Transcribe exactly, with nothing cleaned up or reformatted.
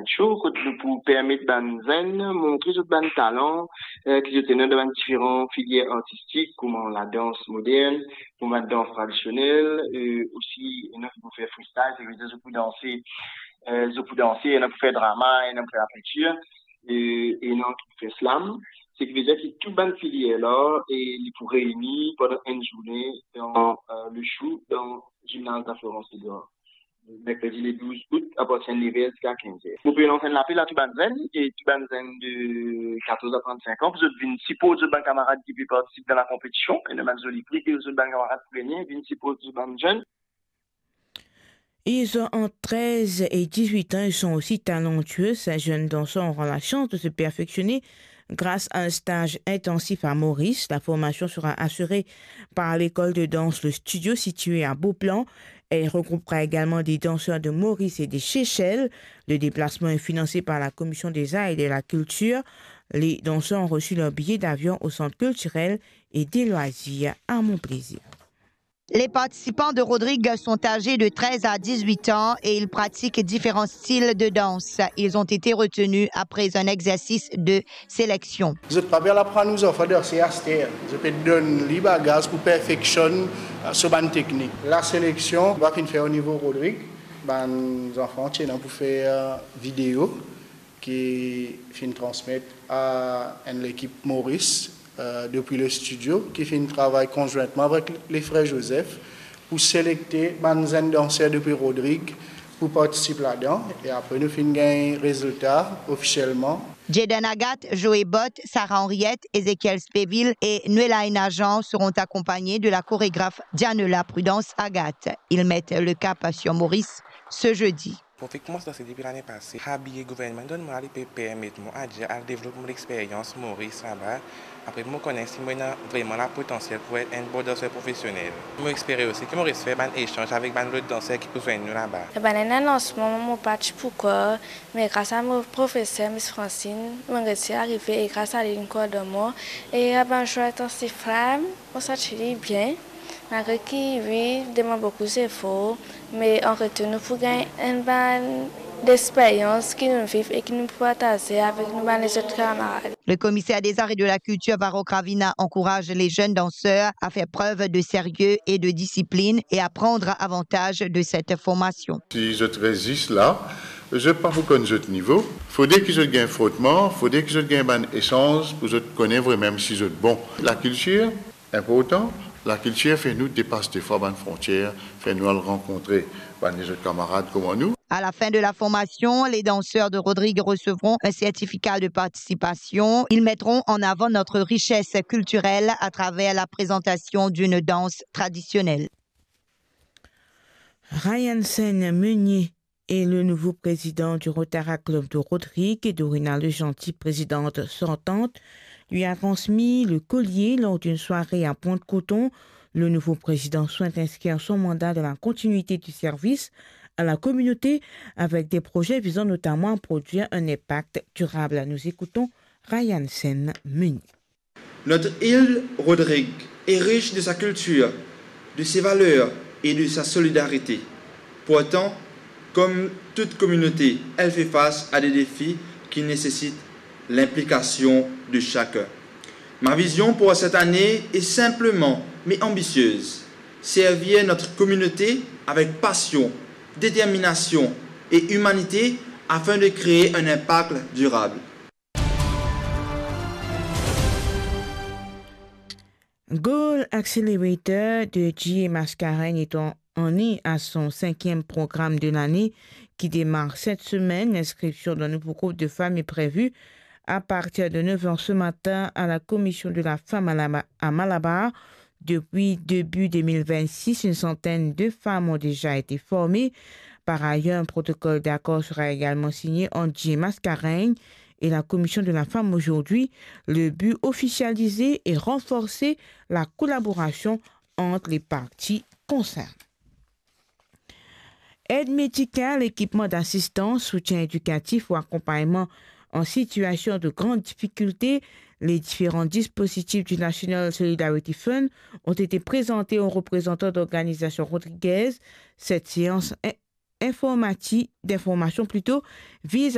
Show, kot nou pou permet bann zenn montre zot bann talan, eh, ki zot ena dan bann diferan filier artistik, kouma ladans modern, kouma ladans tradisionel, eh, osi, ena ki pou fer freestyle, sa vedir zot pou danse, eh, zot pou danse, ena pou fer drama, ena pou fer lapritir, eh, ena ki pou fer slam. Seki vedir ki tou bann filier la, eh, li pou reyni pandan enn zourne dan, eh, le show dan Gymnase de la Florence Édouard. Merkredi le douz out, apartir de nev er ziska kinz er. Mo pe lans enn lapel a tou bann zenn, e tou bann zenn de katorz a trant-sink an, pou zot vinn siport zot bann kamarad ki pe partisip dan lakonpetision, e ena bann zoli pri ki zot bann kamarad pou gagne, vinn siport zot bann zenn. Ils ont entre treize et dix-huit ans, ils sont aussi talentueux. Ces jeunes danseurs auront la chance de se perfectionner grâce à un stage intensif à Maurice. La formation sera assurée par l'école de danse Le Studio, située à Beauplan. Elle regroupera également des danseurs de Maurice et des Seychelles. Le déplacement est financé par la Commission des Arts et de la Culture. Les danseurs ont reçu leur billet d'avion au Centre culturel et des loisirs à Mon Plaisir. Les participants de Rodrigue sont âgés de treize à dix-huit ans et ils pratiquent différents styles de danse. Ils ont été retenus après un exercice de sélection. Zot pa pe al aprann ou zanfan danse aster. Zot pe donn li bagaz pou perfeksionn, eh, so bann teknik. Laseleksion va finn fer o nivo Rodrigue. Bann zanfan ti ena pou fer, eh, video ki finn transmet a enn lekip Maurice, eh, depi Le Studio, ki finn travay konzwintman avek le frer Joseph pou selekte bann zenn danser depi Rodrigue pou partisip ladan, e apre nou finn gagn rezilta ofisielman. Jaden Agathe, Joe Bott, Sarah Henriette, Ezekiel Speville et Noelaina Jean seront accompagnés de la chorégraphe Dianola Prudence Agathe. Ils mettent le cap sur Maurice ce jeudi. Mo finn koumans danse depi lane pase. Habiye gouvernman donn mwa la, li pe permet mwa al devlop mo lexperyans Moris laba. Apre mo kone si mo ena vreman lapotansiel pou et enn bon danser profesionel. Mo espere osi ki Moris fer bann esanz avek bann lot danser ki pou zwenn nou laba. Ebin, enn lansman mo pa ti pou krwar, me gras a mo profeser, Miss Francine, mo resi arive e gras a li, linn kordonn mwa. E a bann zour intensif la, mo santi li bien. Malgre ki, wi, demann boukou zefor, me an retour nou pou gagn enn bann lexperyans ki nou viv e ki nou pou partaze avek nou bann lezot kamarad. Le commissaire des Arts et de la Culture, Varro Gravina, encourage les jeunes danseurs à faire preuve de sérieux et de discipline et à prendre avantage de cette formation. Si zot res zis la, zot pa pou konn zot nivo. Fode ki zot gagn frotman, fode ki zot gagn bann esanz pou zot kone vremem si zot bon. Lakiltir, inportan, lakiltir fer nou depas defwa bann frontier, fer nou al rankontre bann lezot kamarad kouma nou. À la fin de la formation, les danseurs de Rodrigue recevront un certificat de participation. Ils mettront en avant notre richesse culturelle à travers la présentation d'une danse traditionnelle. Ryan Sen Meunier est le nouveau président du Rotaract Club de Rodrigue et Dorina Legentil, présidente sortante, lui a transmis le collier lors d'une soirée à Pointe-Coton. Le nouveau président souhaite inscrire son mandat dans la continuité du service à la communauté avec des projets visant notamment à produire un impact durable. Nous écoutons Ryan Sen Meunier. Notre île Rodrigue est riche de sa culture, de ses valeurs et de sa solidarité. Pourtant, comme toute communauté, elle fait face à des défis qui nécessitent l'implication de chacun. Ma vision pour cette année est simplement, mais ambitieuse. Servir notre communauté avec passion, détermination et humanité afin de créer un impact durable. Goal Accelerator de G A Mascarenhas est en, en ligne à son cinquième programme de l'année qui démarre cette semaine. L'inscription d'un nouveau groupe de femmes est prévue à partir de neuf heures ce matin à la Commission de la Femme à la Ma-, à Malabar. Depuis début deux mille vingt-six, une centaine de femmes ont déjà été formées. Par ailleurs, un protocole d'accord sera également signé entre G A Mascarenhas et la Commission de la Femme aujourd'hui. Le but, officialiser et renforcer la collaboration entre les parties concernées. Aide médicale, équipement d'assistance, soutien éducatif ou accompagnement en situation de grande difficulté. Les différents dispositifs du National Solidarity Fund ont été présentés aux représentants d'organisations rodriguaises. Cette séance in-, informati-, d'information plutôt, vise à